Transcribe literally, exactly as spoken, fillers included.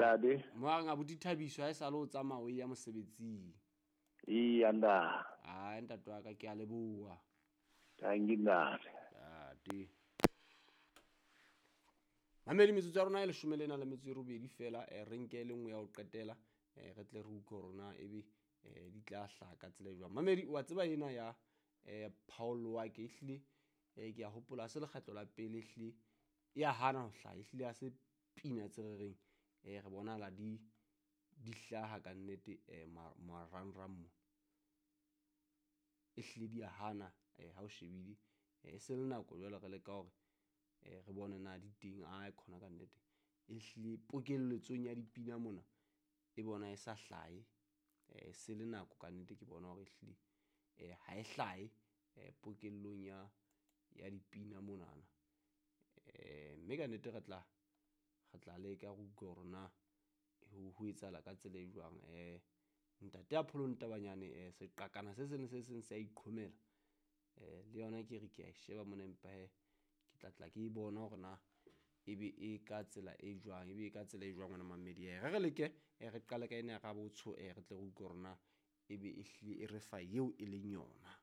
Ntate. Mo a reng abuti Thabiso ha e sale o tsamaya o ya mosebetsing. Iya ntate. Ai ntate wa ka ke a leboha. Thank you ntate. Ntate. Mamedi metsotso ya rona e leshome le na le metso e robedi fela, eh, re nke e le nngwe ya ho qetela, eh, re tle re utlwe hore na ebe eh, di tla hlaha ka tsela e jwang. Mamedi wa tseba ena ya eh, Paul Wake ehlile eh, ke a hopola ha se lekgetlo la pele ehlile e a hana ho hlaha, ehlile ha se pina tse re reng eh, re bonahala di di hlaha ka nnete eh, marangrang mo ehlile di a hana eh, ha o shebile eh, e se le nako jwale re leka hore eh, re bone na di teng a khona ka nnete ehlile pokelletsong ya dipina mona e bona e sa hlahe eh, se le nako ka nnete ke bona hore ehlile eh, ha e hlahe eh, pokellong ya ya dipina monana eh, mme ka nnete re tla re tla leka re utlwe hore na ho ho etsahala ka tsela e jwang. Eh, ntate a Pholo Ntabanyane eh, seqakana se seng le se seng se a iqhomela eh, le yona ke re ke a e sheba mona empa he ke tla tla ke e bona hore na ebe e ka tsela e jwang, ebe e ka tsela e jwang wena mamedi. Eh, re re leke eh, re qale ka ena ya Rabotsho eh, re tle re utlwe hore na ebe ehlile e re fa eo e leng yona.